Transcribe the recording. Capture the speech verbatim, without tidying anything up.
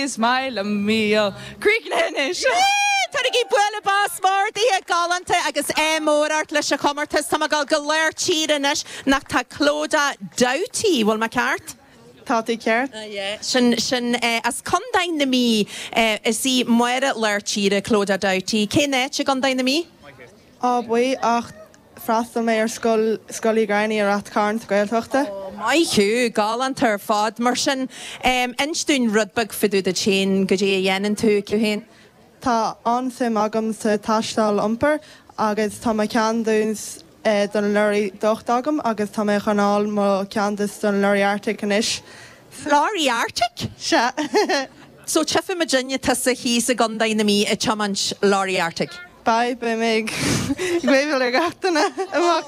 Is maith liom míol. Críochnaithe anois! Tabhairigí bualadh bos mór daoithe galánta agus ádh mór ort leis an chomórtas. Tá mé ag dul go lár tíre anois nach tá Clodagh Doughty, bhfuil mé ceart? Tá tú ceart. Sin sin as Contae na Mí. Is í Máire lár tíre Clodagh Doughty. Cén áit i gContae na Mí? Áth Buí ach freastal mé ar scoil Scoil Uí Ghramhnaigh i Rath Cairn sa Ghaeltachta. Ó, maith thú, galánta ar fad. Mar sin, inis dúinn rud beag fá dtaobh duit féin, goidé a dhéanann tú féin. Tá an-suim agam sa taisteal iompair agus tá mo cheadúnas don lorry docht agam agus tá mé chun fháil mo cheadúnas don lorry Artic anois. Lorry Arctic? Sea. So tchífidh muidinne tusa thíos i gContae na Mí ag tiomáint lorry Artic. Beidh beidh mé ag wave-áil ar gach duine amach